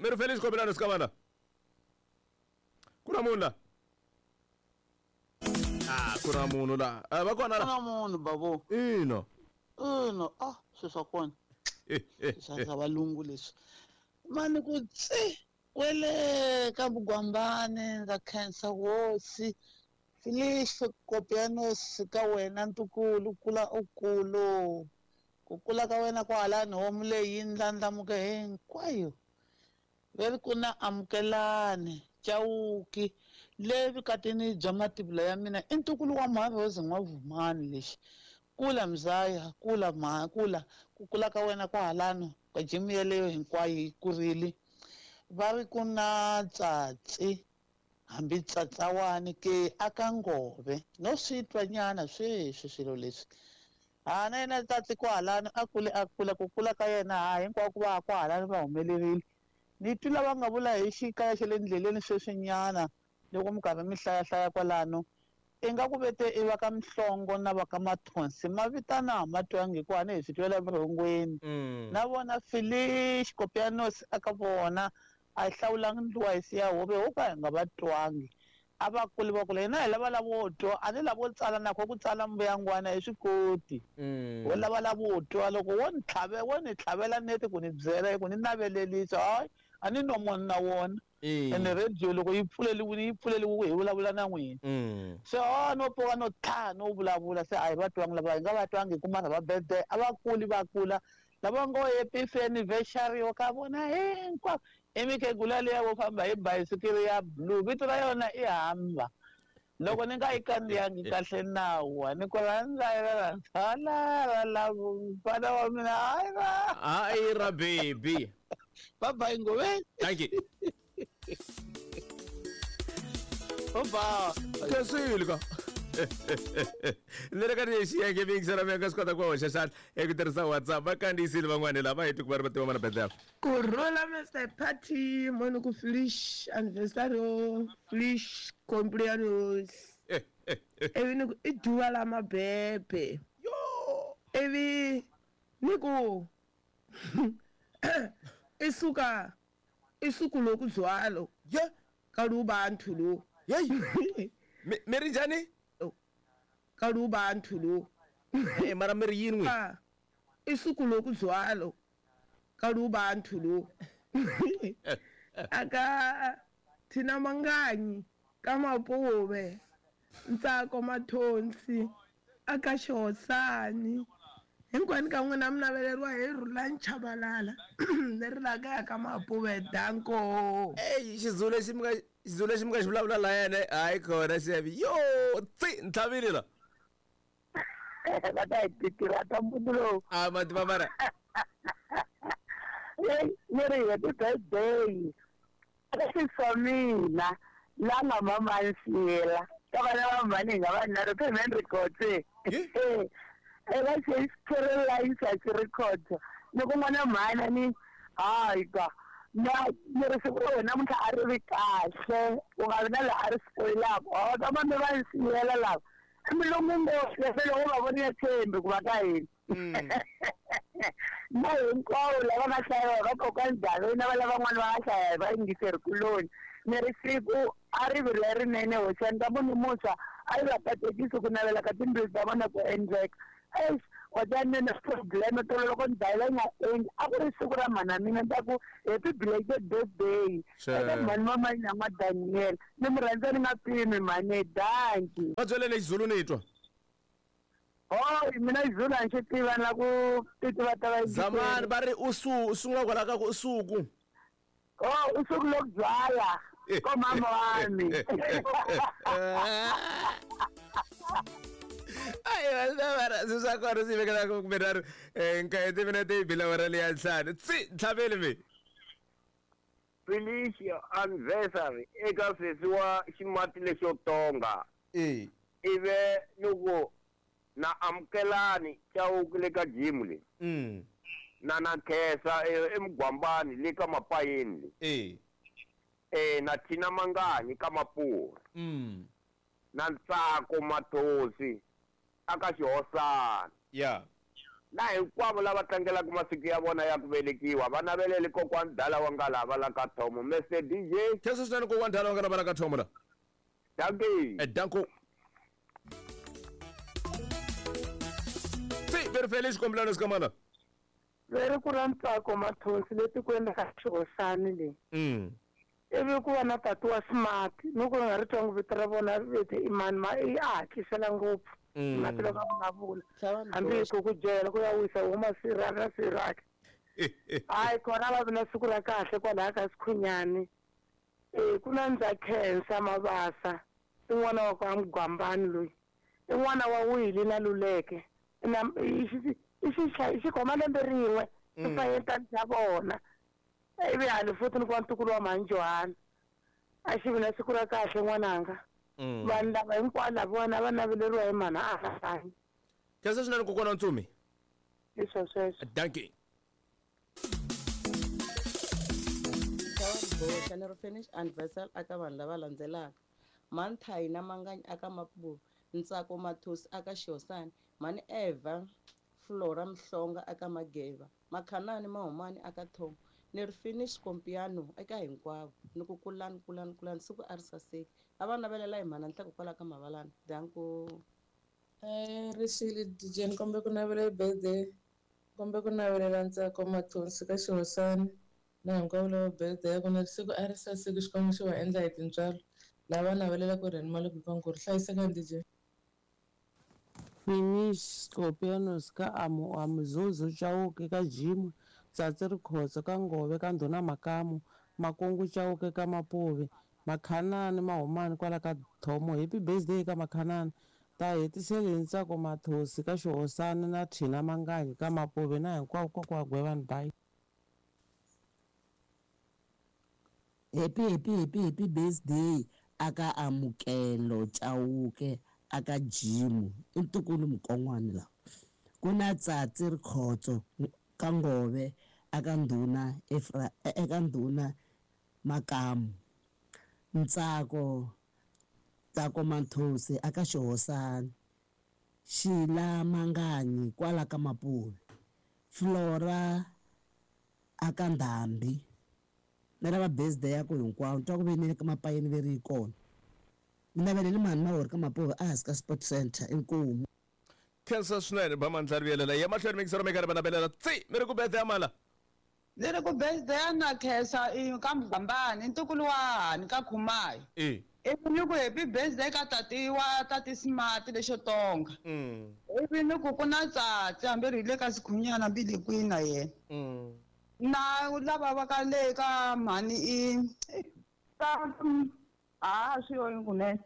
Mi ri Felice Kombelano Sikavana. Ku na munhu la? Ah, ku na munhu la. Ah, va kona ku la. na munhu babo Ina. Ina, ah, swilo swa kona swa valungu leswi mani ku tsi kwele ka vugwambani ndza khensa hosi Felice Kopianos ka wena ntukulu kula u kulu ku kula ka wena kwahalani homu leyi yi ndlandlamuke hinkwayo veri ku na amukelani Chauke le vukatini bya mativula ya mina i ntukulu wa Mharhozi N'wavhumani lexi kula mzaya kula mha kula ku kula ka wena kwahalano ka jimu yeleyo hinkwayo yi kurile va ri ku na tsatsi hambi tsatsawani ke aka ngove no swi twa nyana sweswi swilo leswi ha na yena tsatsi kwahalano a kule a kula ku kula ka yena ha hinkwako va kwahalano va humelerile ni twi lava nga vula hi xikaya xa le ndleleni sweswinyana loko mi karhi mi hlayahlaya kwalano ingaku vete i va ka Mhlongo na va ka Mathonsi ma vitana ma twangi hikuva ni hi swi twela vurhongweni na vona Felice Kopianos aka vona a hi hlawulangi ndluwa hi siya hove ho ka hi nga va twangi a va kuli va kula hina hi lava lavo twa a ni lavo tsala na kho ku tsala mbuyangwana hi swi koti wo lava lavo twa loko wo ni tlhave wo ni tlhavela neti ku ni byela ku ni navelelisa hayi a ni nomo na wona ene radio loko yi pfuleliwile yi pfuleliwe ku hi vulavula na n'wina se o no pfuka no tlha no vulavula se a hi va twangi lava hi nga va twangi ku mara va birthday a va kuli va kula lava ngo happy anniversary ka vona hinkwavo i mikhegula liya vo famba hi bayisikiri ya blue vito ra yona i hamba loko ni nga yi kandziyangi kahle nawa ni ku rhandza i ra rhandza ra la mfana wa mina hayi ra Hayi ra baby. Bye bye ngove. Thank you. Bye. Khensile ka. Ni le ka xiyenge miyingisela mi nga swi kota ku hoxa xandla eku tirhisa WhatsApp va kandziyisile van'wani lava heti ku va ri va tiva mana Bethlehem. Kurhula Mr Party moni ku Felice anniversary Felice cumpleaños ivi ni ku i duva la mabebe ivi ni ku i suka i suku loku dzwalo ka lubantu lo yeyi mi ri njhani ka lubantu lo mara mi ri yini n'wi i suku loku dzwalo ka lubantu lo aka thina manganyi ka mapuve Ntsako Mathonsi aka Xihosani hinkwenu ka n'wina mi naveleriwa hi Rhulani Chabalala leri la kaya ka Mapuve danko. Eyi xizulu lexi mi nga xizulu lexi mi nga xi vulavula layani hayi khona xevi yo tsi ntlhavile la va ta hi titirha ta mbuti lowu a ma tiva mara Hey, ni ri happy birthday eka sesi wa mina la nga mamansiyela ka vana va mhani hi nga vanharhu Payment Records eka Caroline Sachi Records ni ku n'wana mhani ni hayi ka na ni ri siku ra wena namuntlha a ri vi kahle u nga vi na laha a ri spoilaka o ta mami va nsiyela lava i milomu ngopfu loko va voni ya tshembi ku va ka hina na hinkwavo lava nga hlaya va kokwani Daveni na va lavan'wana va nga hlaya hi vayingiseri kuloni ni ri siku a ri vi lerinene hoxani ka munhu muntshwa a yi va katekisi ku navela ka timbilu ta vona ku endleka eish wa ta ni na probleme tolo loko ni dayila yi nga endli a ku ri siku ra mhana mina ni ta ku happy belated birthday eka mhani mamani ya n'wa Daniel ni mi rhandza ni nga pimi mhani danki va byeleni xizulu ni twa Oh, mina Zulu a ni xi tiva na ku ti tiva ta va Zamani va ri usu u sungula kwala ka ku usuku. Oh, usuku lokudzwala komama wami. Ayi mara swi swa kona swi vekela ku kumbe nharhu nkaye timinete yi bile awara leya ntlhanu tsi ntlhaveli mi Felicia anniversary eka sesi wa ximati lexo tonga. E. Ive ni ku na amukelani Chauke le ka gym le. Na na Khesa eMugwambani le ka Mapayeni le. E. E na Thina Manganyi ka Mapuri. Na Ntsako Mathosi aka Xihosana. Ya. Na hinkwavo lava tlangelaka masiku ya vona ya ku velekiwa va navelele kokwani Dala wa nga lava la ka Thomo. Mr DJ. Khensa swinene kokwani Dala wa nga lava la ka Thomo la. Dankie. Danko. Si, very feliz cumpleaños kamana. Veri ku ra Ntsako Mathonsi le tikweni ra Xihosani leyi. Ivi ku va na tati wa Smart, ni ku nga ri twangi vito ra vona ri vete i mani, ma i a hatlisela ngopfu. Mati loko a vulavula. Hambi hi ku ku byela ku ya wisa huma sirha ra sirhaka. Hayi kona va vi na siku ra kahle kwalaya ka Sikhunyani. Ku na ndza khensa Mabasa, i n'wana wa ka Mugwambani loyi. I n'wana wa Wili na Luleke. Na i xi khoma lembe rin'we, i fayetani xa vona. Ivi hali futhi ni ku va ntukulu wa mhani Johana. A xi vi na siku ra kahle n'wananga. Vanhu lava hinkwavo lavawani a va naveleriwa hi mhani a hanyi. Khensa swinene kokwana Ntsumi. Hi swo sweswo. Dankie. Boxa ni ri finish anniversary aka vanhu lava landzelaka. Mhani Thayina Manganyi aka Mapuve, Ntsako Mathosi aka Xihosani, Mhani Eva Flora Mhlonga aka Mageva, Makhanani Mahumani aka Thomo. Ni ri finish kompiano eka hinkwavo. Ni ku kulani kulani kulani siku a ri saseki. A va navelela hi mhana Nhleko kwala ka Mavalani. Danko. Rixile DJ ni kombe ku navela birthday. Kombe ku navelela Ntsako Mathonsi ka Xihosani na hinkwavo lava birthday ya kona siku a ri saseki Xikwembu xi va endla hi tintswalo. Lava navelela ku ri ni mali ku ku ri hlayisekani DJ. Finish Scorpions ka amu amuzuzu Chauke ka Jim Tsatsi Rikhotso ka Ngove ka Ndhuna Makamu Makungu Chauke ka Mapuve Makhanani Mahumani kwala ka Thomo. Happy birthday ka Makhanani. Ta hetiseli hi Ntsako Mathosi ka Xihosani na Thina Manganyi ka Mapuve na hinkwavo kokwa Gwevani. Bye. Happy happy happy happy birthday aka Amukelo Chauke aka Jimu i ntukulu mukon'wana lawa. Ku na Tsatsi Rikhotso ka Ngove aka Ndhuna eka Ndhuna Makamu. Ntsako Ntsako Mathosi aka Xihosani. Xila Manganyi kwala ka Mapuve. Flora aka Ndhambi. Na lava birthday ya ku hinkwavo twa ku ve ni ka mapayeni ve ri yi kona. Ni navelele mhani Mahori ka Mapuve a hansi ka Sport Center inkomu. Khensa swinene ba mandla rivelela ya mahlweni mikisero mi karhi va navelela tsi mi ri ku birthday ya mala. Ni ri ku birthday ya na khensa i ka Mugambani ntukulu wa hani ka Khumayi. Ivi ni ku happy birthday ka tati wa tati Smart lexo tonga. Ivi ni ku ku na Tsatsi hambi ri hi le ka Sikhunyana hambi le kwini na yena. Na lava va ka le ka mhani i ka a swi yo kunene.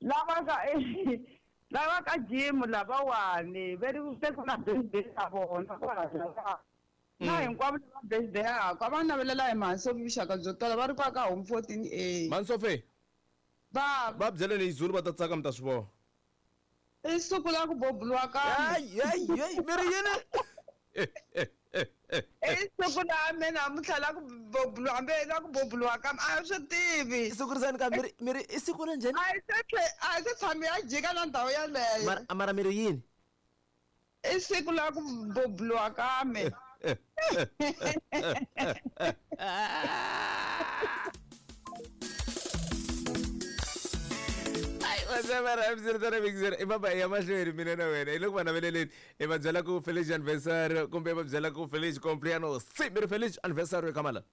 Lava ka lava ka Jim lavawani ve ri se ku na birthday ya vona kwala. Na hinkwavo lava birthday ya ka va navelela hi mhani Sophie vuxaka byo tala va ri kwa ka home 14A. Mhani Sophie. Va byeleni hi Zulu va ta tsaka mi ta swi vona. I siku la ku bobuliwa ka. Hayi hayi hayi mi ri yini? I siku la me namuntlha la ku bobuliwa hambi la ku bobuliwa ka a swi tivi. Siku ka mi ri i siku la njhani? A se tshami ya jika na ndhawu yaleyo. Mara mi ri yini? I siku la ku bobuliwa ka me. I baba ya mahlweni mina na wena hi loko va naveleleni i va byela ku feliz anniversary kumbe va byela ku feliz cumpleaños. Si mi ri feliz anniversary ka mala.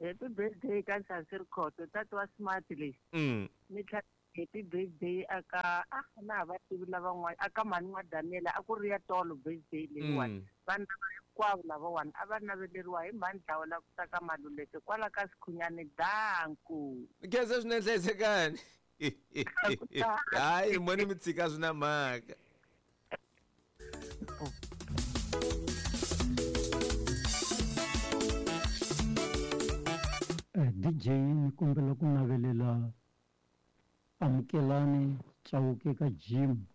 Happy birthday ka Tsatsi Rikhotso tati wa Smart leyi. Ni tlhela happy birthday aka na va tivi lavan'wana aka mhani n'wa Daniel a ku ri ya tolo birthday leyiwani. Vanhu lava hinkwavo lavawani a va naveleriwa hi mhani Dlawa la ku ta ka Maluleke kwala ka Sikhunyani. Danku. Khensa swinene hlayisekani. Hayi moni mi tshika swi na mhaka. DJ ni kombela ku navelela Amukelani Chauke ka Jim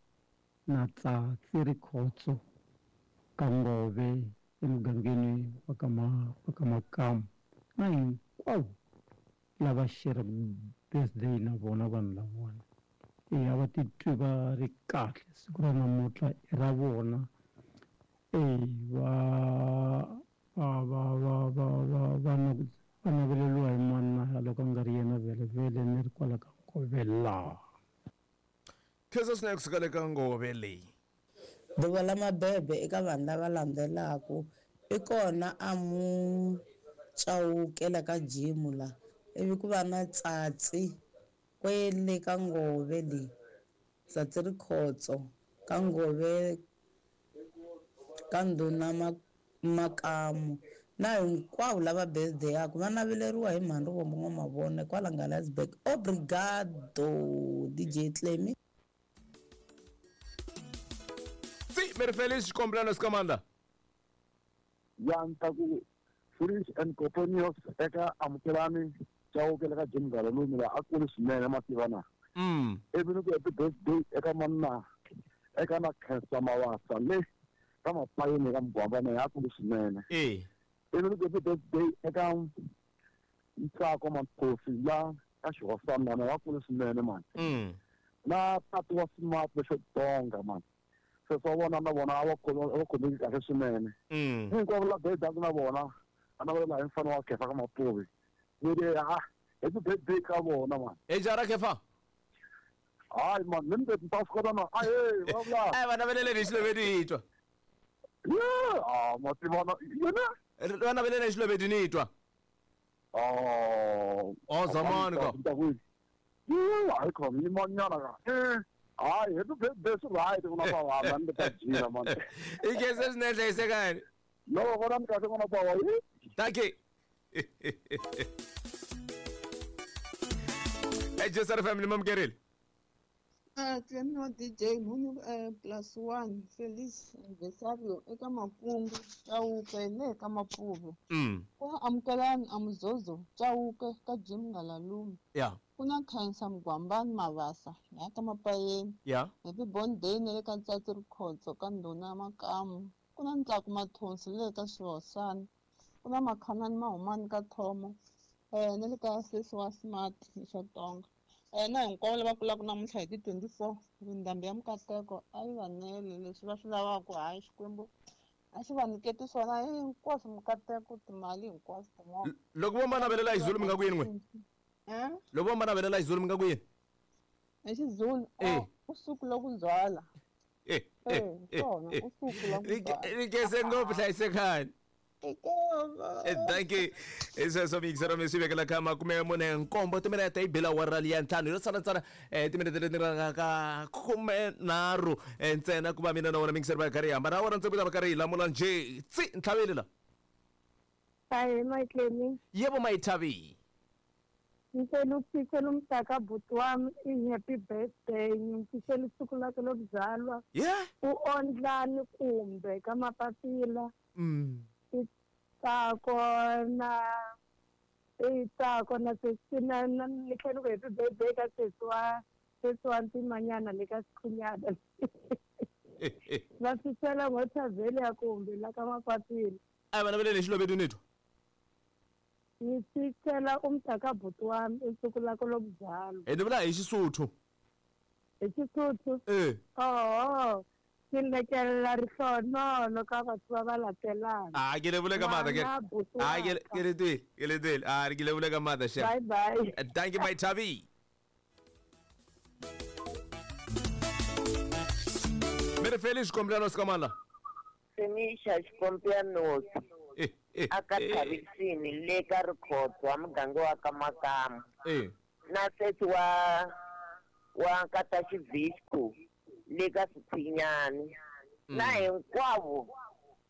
na Tsatsi Rikhotso ka Ngove emugangeni wa ka Makamu na hinkwavo lava share birthday na vona vanhu lavona. A va titwi va ri kahle siku ra namuntlha i ra vona. Va va va va va va va va naveleriwa hi mana loko a nga ri yena vhele ni ri kwala ka Ngove laha. Khensa swinene kusuka le ka Ngove leyi. Ḓuvha ḽa mabebe eka vanhu lava landzelaka i kona a mu Chauke la ka Jimu la ivi ku va na Tsatsi kwele ka Ngove le Tsatsi Rikhotso ka Ngove ka Ndhuna Makamu na hinkwavo lava birthday-aku va naveleriwa hi Mhani Rivombo N'wamavone kwala Ngalansburg. Obrigado DJ Clemy. Si mi ri Felix xikombelano Sikamandla. Ya ni ta ku Felix and Coponius eka Amukelani Chauke le ka Jim Galalumi la a kulu swinene mativa na. Ivi ni ku happy birthday eka manna eka na Khensa Mawasa le ka Mapayeni ka Mugwambana ya kulu swinene. Ivi ni ku happy birthday eka Ntsako Mathosi la ka Xihosana na wa kulu swinene mani. Na tati wa Smart lexo tonga mani. Se swa vona na vona a va khomeki kahle swinene. Hinkwavo la birthday na vona a na vona hi mfana wa Khefa ka Mapuve. Ni ri ha happy birthday ka vona mani. E jara Khefa. Hayi man, ni mi ta swi kota na ahe va vula. Ai va naveleleni hi Xilovedu hi twa. Yeah, ah mativana yena. Va naveleleni hi Xilovedu ni twa. Oh. Oh zamani ka. Yeah, hayi khona yimanyana ka. Hayi happy birthday swi right ku na va ni ta jina man. I khensa swinene hlayisekani. No, vona ni kahle n'wana bawa. Thank you. Hey, family mamukerile. Clemy wa DJ Nhunyu +1 Felix Anniversario eka Makungu Chauke le ka Mapuve. Ku na Amukelani Amuzozo Chauke ka Jim Ngalalume. Ku na Khensa Mugwambani Mavasa la ka Mapayeni. Happy birthday na le ka Ntsatsi Rikhotso ka Ndhuna Makamu. Ku na Ntsako Mathonsi le ka Xihosana. Ku na Makhanani Mahumani ka Thomo. Na le ka sesi wa Smart Xatonga. Na hinkwavo lava kulaka namuntlha hi ti 24 ndhambi ya mikateko a yi va nele leswi va swi lavaka hayi Xikwembu a xi va nyiketi swona hinkwaswo mikateko timali hinkwaswo tin'wana. Loko vo ma navelela hi Zulu mi nga ku yini n'we? Loko vo ma navelela hi Zulu mi nga ku yini? Hi Xizulu usuku lokuzala. Swona usuku lokuzala. Ni khense ngopfu hlayisekani. Thank you. Sweswo miyingiselo mi swi vekela ka 47 timinete yi bela awara liya 5 yo sala ntsena timinete leti nga ka 13 ntsena ku va mina na wona miyingiselo va karhi hi hambana awara ntsevu ta va karhi hi lamula njhe tsi ntlhaveli la. Hayi Mayitlemi. Yebo Mayithavi. Ngicela ukufisela umntaka bhuti wami i-happy birthday, ngimfisela usuku lakhe lokuzalwa. U-Ondlani kumbe ka Mapapila. Tsako na Tsako na sesi na ni tlhela ku happy birthday ka sesi wa Ntimanyana le ka Sikhunyana. Va fisela ngothavhele ya kumbe la ka Mapapila. A va navelele hi Xilovedu ni twa. Ngifisela umntaka bhuti wami usuku lakhe lokuzalwa. Ni vula hi Xisuthu. Hi Xisuthu? Oh. Ke lekelela rihlonono ka batho ba ba latelang. Ke le bule ka matla ke. Ke le twile, ke le twile. Ke le bule ka matla shem. Bye bye. Thank you my Thabi. Mere Felix Kompiano Sikamandla. Fenisha Xikompiano. Aka Thavisini le ka Rikhotso wa muganga wa ka Makamu. Na sesi wa Nkata Xivisco le ka Siphinyani. Na hinkwavo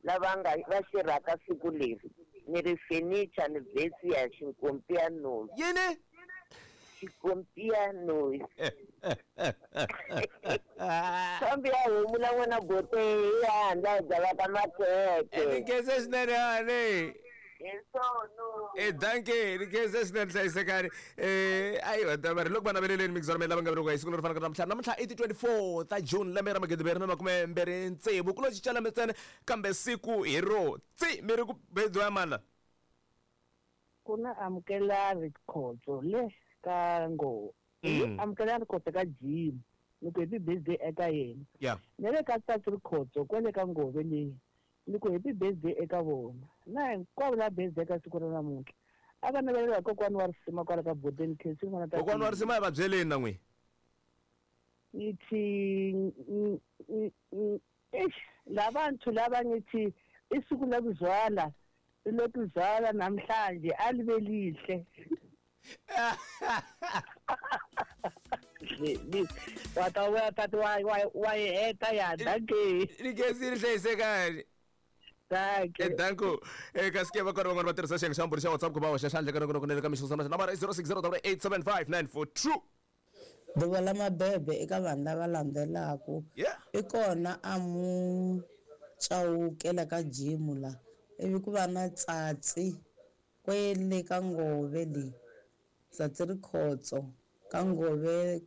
lava nga va xirhaka siku leri ni ri furniture ni vhesi ya Xikompiano. Yini? Xikompiano. Kambe ya humula n'wana bote ya handla byala ka makheke. Ni khense swinene hani. Hi Thank you. Ni khense swinene hlayisekani. Ayiwa mari loko va naveleleni migizano lava nga veriwa hi siku leri fanaka namuntlha. Namuntlha i ti 24 ta June lembe ra 2026. Ku lo cinca lembe ntsena kambe siku hi ro tsi mi ri ku birthday ya mani la? Ku na Amukelani Rikhotso le ka Ngo. Amukelani Rikhotso ka Jim. Ni ku happy birthday eka yena. Na le ka Tsatsi Rikhotso kwale ka Ngove leyi. Ni ku happy birthday eka vona. Na hinkwavo lava birthday ka siku ra namuntlha. A va navelela hi kokwana wa risima kwala ka Bodeni Khensi n'wana ta Kokwana wa risima hi va byeleni na n'wina. Ngithi eish labantu laba ngithi isuku lokuzala lokuzala namhlanje alibe lihle. Wa heta ya dankie. Ni khensile hlayisekani. Dankie. Danko. Kasi ke va kona van'wana va tirhisa xiyenge xa mbhuri xa WhatsApp ku va hoxa xandla ka nongonoko ka mixo nambara i 0608875942. Ḓuvha ḽa mabebe eka vanhu lava landzelaka i kona a mu Chauke la ka Jimu la ivi ku va na Tsatsi kwele ka Ngove le Tsatsi Rikhotso ka Ngove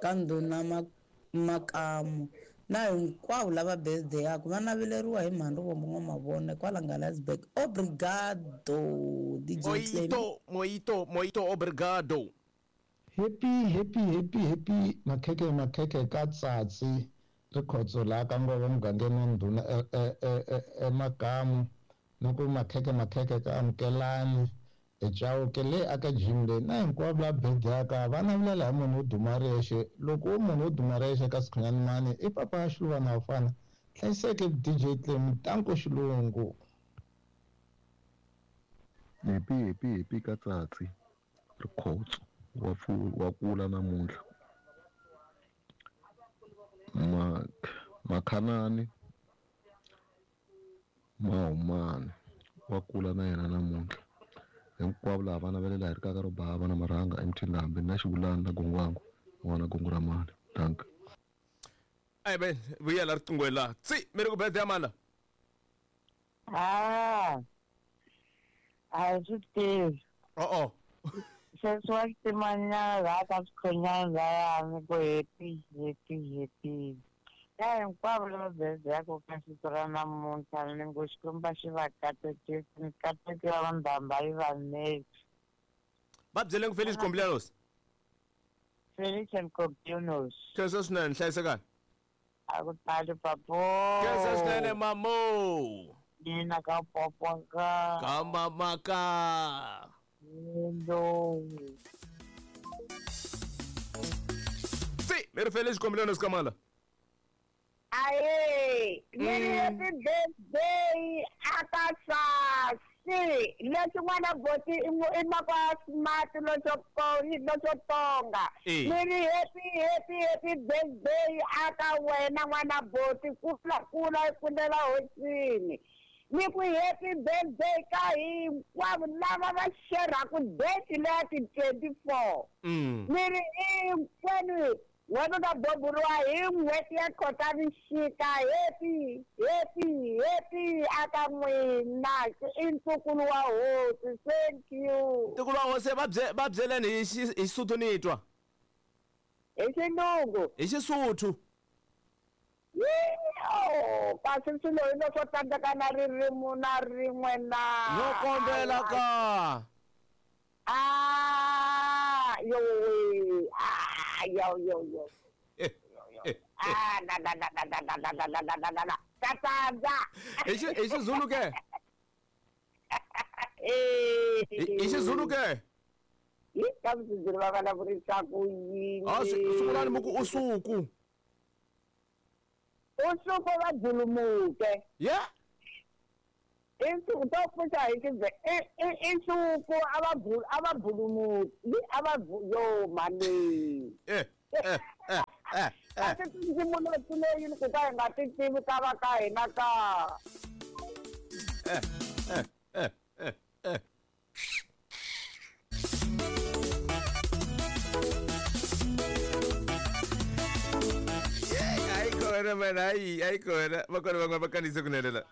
ka Ndhuna Makamu na hinkwavo lava birthday-aku va naveleriwa hi mhani Rivombo N'wamavone kwala Ngalansburg. Obrigado DJ Clem. Moito, moito, moito, obrigado. Happy, happy, happy, happy makhekhe makhekhe ka Tsatsi Rikhotso laha ka Ngove mugangeni wa Ndhuna eMakamu ni ku makhekhe makhekhe ka Amukelani eChauke le aka Jim leyi na hinkwavo lava birthday-aka va navelela hi munhu wo duma riyexe loko wo munhu wo duma riyexe ka Sikhunyani mani i papa ya Xiluvana Vafana hlayiseke DJ Clem tanko xilungu. Happy happy happy ka Tsatsi Rikhotso wa kula namuntlha. Makhanani Mahumani wa kula na yena namuntlha. Hinkwavo lava va navelela hi rikaka ro bava na marhanga emthini hambi na xivulani na gongwangu n'wana gongo ra mali. Dankie. Ai ben vuyela riqingweni laha. Tsi mi ri ku birthday ya mani la? A a swi tivi. O-o. Sweswi wa xitimanyana laha ka swikhonyana layani ku happy happy happy. Na hinkwavo lava birthday-aku ka siku ra namuntlha ni ngo Xikwembu xi va katekisi mikateko ya vandhamba yi va neti. Va byeleni ku Feliz cumpleaños. Feliz cumpleaños. Khensa swinene hlayisekani. A ku tali papo. Khensa swinene mamo. Mina ka popo ka. Ka mama ka. Hello. Si, mi ri Feliz cumpleaños ka mala. Aye, ni ri happy birthday aka Sasi. Leswi n'wana boti i makwa smart loxo tonga. Ni ri happy happy happy birthday aka wena n'wana boti kula kula kulela hosini. Ni ku happy birthday ka hinkwavo lava va xerhaku date leya ti 24. Ni ri hinkwenu wena ta boburiwa hi n'hweti ya Khotavuxika. Happy happy happy aka n'wina i ntukulu wa hosi. Thank you. Ntukulu wa hosi va byeleni hi Xisuthu ni twa. Hi xilungu. Hi Xisuthu. Oh, kasi swilo hi leswo tsandzeka na ririmi na rin'we na. No kombela ka. Ah, yo ah yo yo yo. Ah na na na na na na na na na na na. Ka tsandza. Hi Xizulu ke? Hi Xizulu ke? Hi ka Xizulu va vulavurisa ku yini? Ah, sungulani mi ku usuku. Usuku va dzulumuke. Yeah. Insuku to pfuxa hi insuku a va bulumuki a va yo mani. Kasi tindzimu leti leyi ku ka hi nga ti tivi ka va ka hina ka. Hayi kona man, hayi hayi kona. Va kona van'wana va kandziyise kunene la.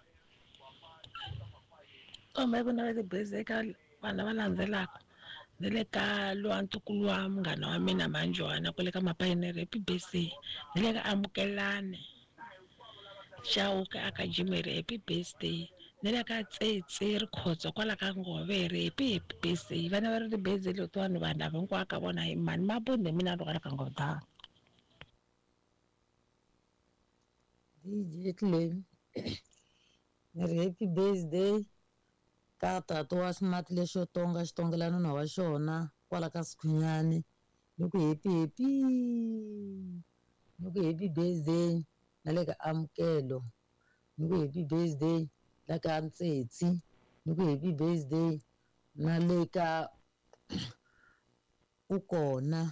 Kumbe ku navela birthday ka vanhu lava landzelaka ni le ka lowa ntukulu wa munghana wa mina Manjwana kwale ka Mapayinere happy birthday. Ni le ka Amukelani Chauke aka Jimere happy birthday. Ni le ka Tsetse Rikhotso kwala ka Ngove ri happy happy birthday. Vana va ri ti-birthday letiwani vanhu lava hinkwavo ka vona hi mani Mabunda hi mina ni kwala ka Ngove. DJ Clem Ni ri happy birthday ka tata wa ximati lexo tonga xitongela nuna wa xona kwala ka Sikhunyani. Ni ku happy happy. Ni ku happy birthday na le ka Amukelo. Ni ku happy birthday la ka Ntsetsi. Ni ku happy birthday na le ka Ukona.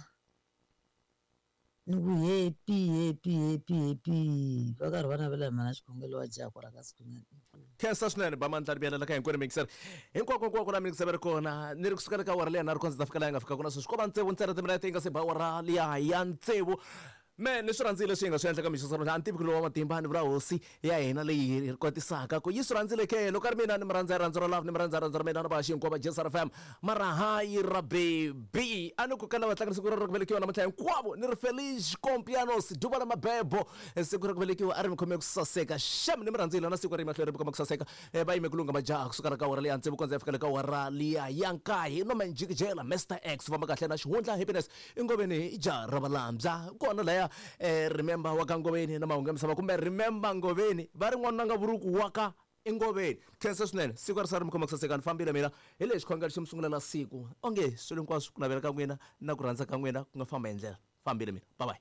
Ni ku happy happy happy happy. Va karhi va navela hi mana xikhongelo wa jaha kwala ka Sikhunyani. Khensa swinene ba mandla ri ka hinkwenu mixer hinkwako hinkwako la mixer ri kona ni ri kusukela ka awara liya na ri kondza ta fika laha yi nga fika kona sweswi ko va tsevu ntsena timinete yi nga se ba awara liya ya tsevu. Me ni swi rhandzile leswi hi nga swi endla ka mixo a ni tivi ku lowa matimba ni vula hosi ya hina leyi hi kotisaka ku yi swi rhandzile ke loko a ri mina ni mi rhandza rirhandzu ra love ni mi rhandza rirhandzu ra mina na va hinkwavo va JSR FM mara hayi ra baby a ni ku ka lava tlangela siku ra ku velekiwa namuntlha hinkwavo ni ri Feliz Compianos duva la mabebo siku ra ku velekiwa a ri mi khome ku saseka xem ni mi rhandzile na siku ri mahlweni ri mi khome ku saseka va yime ku lungha majaha kusuka ra ka awara liya tsevu kondza ya fika le ka awara liya ya nkaye no manjikijela Mr X famba kahle na xihundla happiness ingoveni i jaha ra valambya kona laya remember wa ka Ngoveni na mahungu ya misava kumbe remember Ngoveni va ri n'wanuna nga vuruku wa ka Ingoveni. Khensa swinene siku a ri sala ri mi khoma ku saseka ni fambile mina hi lexi xikhongelo xi mi sungulela siku onge swilo hinkwaswo ku navela ka n'wina na ku rhandza ka n'wina ku nga famba hi ndlela fambile mina bye bye.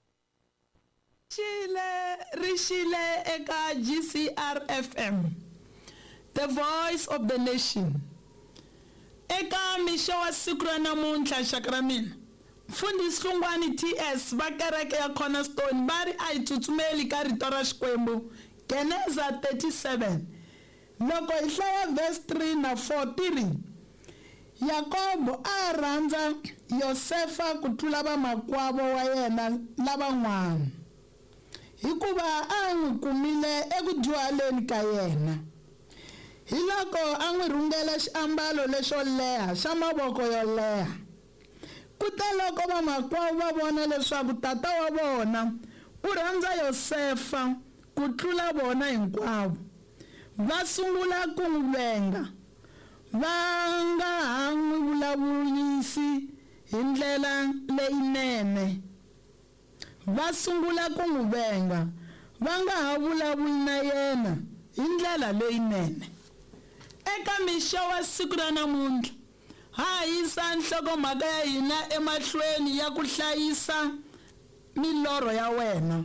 Xile ri xile eka GCR FM, The Voice of the Nation. Eka mixo wa siku ra namuntlha, xaka ra mina, Mfundhisi Hlungwani TS va kereke ya Cornerstone va ri a hi tsutsumeli ka rito ra Xikwembu, Geneza 37. Loko hi hlaya verse 3 na 4 ti ri, Yakobo a a rhandza Yosefa ku tlula vamakwavo wa yena lavan'wana, hikuva a a n'wi kumile eku dyuhaleni ka yena. Hiloko a n'wi rhungela xiambalo lexo leha xa mavoko yo leha. Kuteloko vamakwavo va vona leswaku tata wa vona u rhandza Yosefa ku tlula vona hinkwavo, va sungula ku n'wi venga, va nga ha n'wi vulavurisi hi ndlela leyinene. Va sungula ku n'wi venga, va nga ha vulavuli na yena hi ndlela leyinene. Eka mixo wa siku ra namuntlha, ha ha yisa nhlokomhaka ya hina emahlweni ya ku hlayisa milorho ya wena.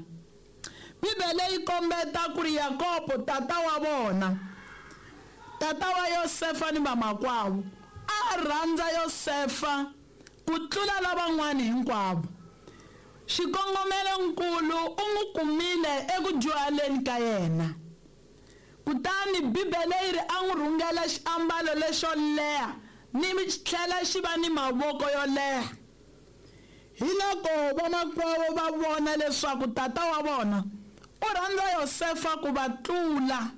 Bibele yi kombeta ku ri Yakobo tata wa vona, tata wa Yosefa ni vamakwavo, a a rhandza Yosefa ku tlula lavan'wana hinkwavo. Xikongomelo-nkulu u n'wi kumile eku dyuhaleni ka yena. Kutani Bibele yi ri a n'wi rhungela xiambalo lexo leha ni tlhela xi va ni mavoko yo leha. Hiloko vamakwavo va vona leswaku tata wa vona u rhandza Yosefa ku va tlula.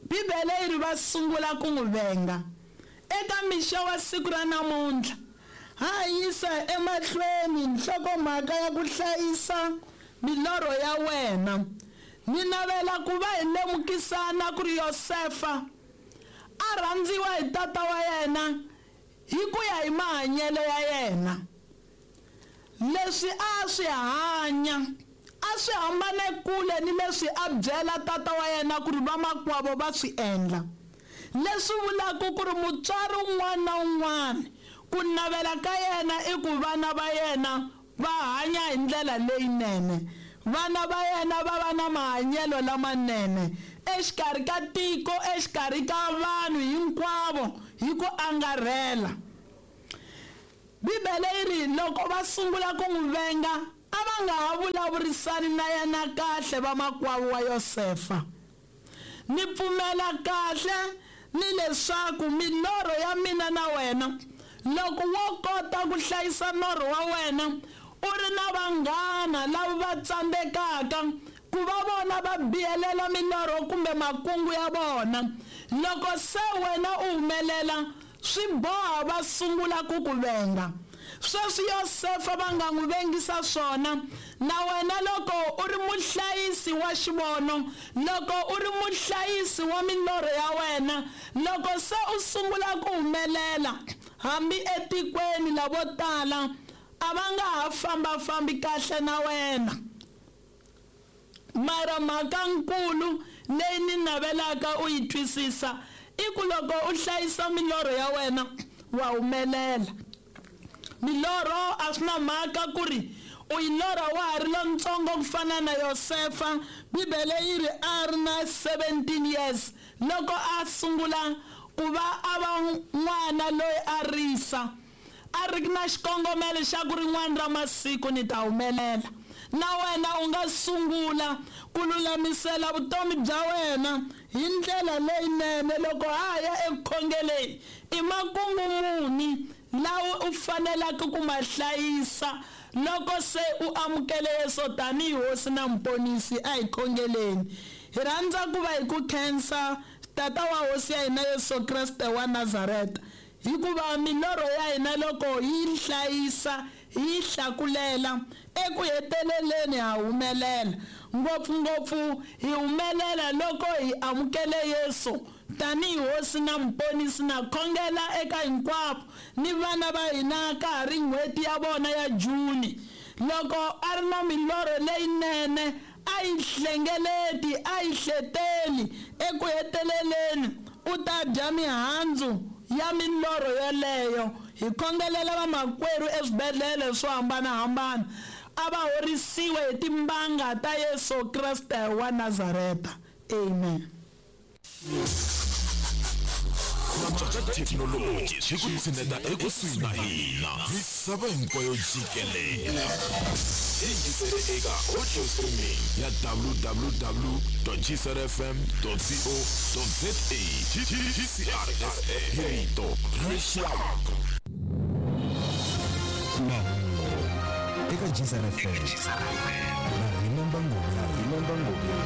Bibele yi ri va sungula ku n'wi venga. Eka mixo wa siku ra namuntlha, ha ha yisa emahlweni nhlokomhaka ya ku hlayisa milorho ya wena. Ni navela ku va hi lemukisana ku ri Yosefa a rhandziwa hi tata wa yena hi ku ya hi mahanyelo ya yena. Leswi a a swi hanya a swi hambane kule ni leswi a byela tata wa yena ku ri vamakwavo va swi endla. Leswi vulaka ku ri mutswari un'wana na un'wana ku navela ka yena i ku vana va yena va hanya hi ndlela leyinene, vana va yena va va na mahanyelo lamanene exikarhi ka tiko, exikarhi ka vanhu hinkwavo hi ku angarhela. Bibele yi ri loko va sungula ku n'wi venga, a va nga ha vulavurisani na yena kahle vamakwavo wa Yosefa. Ni pfumela kahle ni leswaku milorho ya mina na wena, loko wo kota ku hlayisa norho wa wena u ri na vanghana lava va tsandzekaka ku va vona va biyelela milorho kumbe makungu ya vona, loko se wena u humelela, swi boha va sungula ku ku venga. Sweswi Yosefa va nga n'wi vengisa swona, na wena loko u ri muhlayisi wa xivono, loko u ri muhlayisi wa milorho ya wena, loko se u sungula ku humelela, hambi etikweni lavo tala a va nga ha famba-fambi kahle na wena. Mara mhaka-nkulu leyi ni navelaka u yi twisisa i ku loko u hlayisa milorho ya wena wa humelela. Milorho a swi na mhaka ku ri u yi lorha wa ha ri lontsongo ku fana na Yosefa. Bibele yi ri a ri na 17 years loko a sungula ku va a va n'wana loyi a risa. A ri na xikongomelo xa ku rin'wana ra masiku ni ta humelela. Na wena u nga sungula ku lulamisela vutomi bya wena hi ndlela leyinene loko ha ha ya eku khongeleni. I makungu muni lawa u fanelaka ku ma hlayisa loko se u amukele Yesu tanihi Hosi na Muponisi? A hi khongeleni. Hi rhandza ku va hi ku khensa, Tata wa Hosi ya hina Yesu Kreste wa Nazareta, Hikuva milorho ya hina loko hi yi hlayisa, hi yi hlakulela, eku heteleleni ha humelela. Ngopfu-ngopfu hi humelela loko hi amukele Yesu tanihi Hosi na Muponisi. Na khongela eka hinkwavo ni vana va hina ka ha ri n'hweti ya vona ya June. Loko a ri na milorho leyinene, a yi hlengeleti, a yi hleteli. Eku heteleleni u ta dya mihandzu ya milorho yoleyo. Hi khongelela vamakwerhu eswibedlhele swo hambana-hambana, a va horisiwe hi timbanga ta Yesu Kreste wa Nazareta. Amen. Ku cinca ka thekinoloji swi ku tshineta ekusuhi na hina misava hinkwayo jikelele. Yingisele eka audio streaming ya www.gcrfm.co.za GCRFM hi rito ra rixaka. Mahungu eka GCR FM na Remember Ngobeni.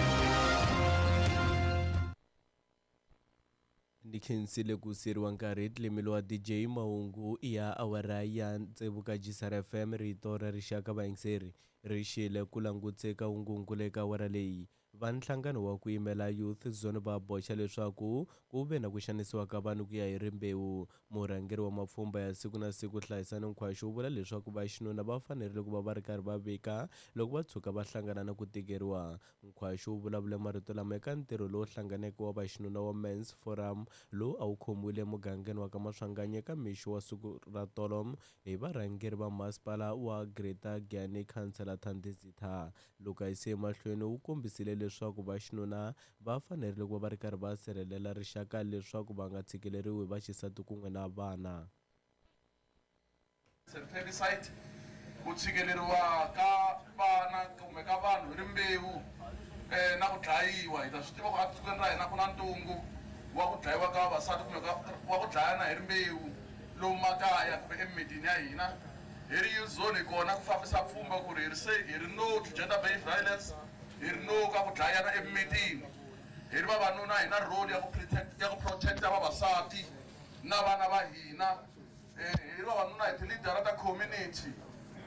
Ndi khensile ku siyeriwa nkarhi hi Tlemelo wa DJ Mahungu ya awara ya tsevu ka Gisar FM rito ra rixaka vayingiseri ri xile ku langutse ka hungunkulu eka awara leyi. Va nhlangano wa ku yimela Youth Zone va boxa leswaku ku ve na ku xanisiwa ka vanhu ku ya hi rimbewu. Murhangeri wa mapfhumba ya siku na siku Hlayisani Nkhwashu u vula leswaku vaxinuna va fanerile ku va va ri karhi va vika loko va tshuka va hlangana na ku tikeriwa. Nkhwashu u vulavule marito lama eka ntirho lowu hlanganeke wa vaxinuna wa Men's Forum lowu a wu khomiwile emugangeni wa ka Maswanganyi eka mixo wa siku ra tolo hi varhangeri va masipala wa Greater Giyani Councillor Thandi Zitha. Loko a yise emahlweni u kombisile leswaku vaxinuna va fanerile ku va va ri karhi va sirhelela rixaka leswaku va nga tshikeleriwi hi vaxisati kun'we na vana. Femicide, ku tshikeleriwa ka vana kumbe ka vanhu hi rimbewu na ku dlayiwa. Hi ta swi tiva ku etikweni ra hina ku na ntungu wa ku dlayiwa ka vavasati kumbe wa ku dlayana hi rimbewu lomu makaya kumbe emimitini ya hina. Hi ri Youth Zone hi kona ku fambisa pfhumba ku ri hi ri se hi ri no to gender based violence, hi ri no ka ku dlayana emimitini. Hi ri vavanuna hi na role ya ku protect, ya ku protecta vavasati na vana va hina. Hi ri vavanuna hi ti-leader ta community,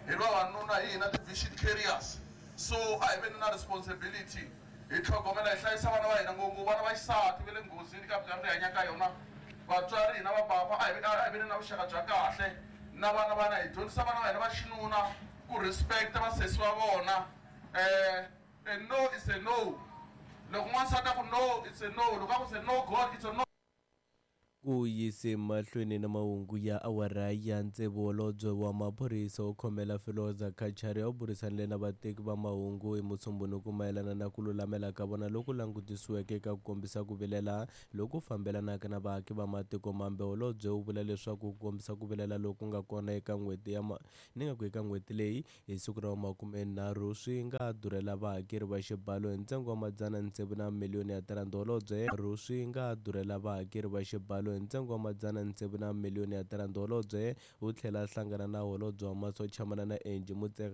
hi ri vavanuna hi hina ti-vision carriers. So a hi veni na responsibility hi tlhogomela hi hlayisa vana va hina, ngopfungopfu vana va xisati va le nghozini ka minkarhi leyi hanyaka ka yona. Vatswari hina vapapa a hi veni na vuxaka bya kahle na vana va hina, hi dyondzisa vana va hina va xinuna ku respect vasesi va vona. A no is a no. Loko n'wansati a ku no, it's a no. Loko a ku it's a no God, it's a no. Ku yise mahlweni na mahungu ya awara ya tsevu, holobye wa maphorisa wo khomela Firoza Cachalia u burisanile na vateki va mahungu hi Musumbhunuku mayelana na ku lulamela ka vona loku langutisiweke eka ku kombisa ku vilela loku fambelanaka na vaaki va matiko mambe. Holobye u vula leswaku ku kombisa ku vilela loku nga kona eka n'hweti ya ni nga ku eka n'hweti leyi hi siku ra vumakumenharhu swi nga durhela vahakeri va xibalo hi ntsengo wa madzana tsevu na miliyoni ya tirhandi. Holobye swi nga durhela vahakeri va xibalo hi ntsengo wa madzana tsevu na miliyoni ya tirhandi. Holobye u tlhela a hlangana na holobye wa masocha Manana Angie Motshekga.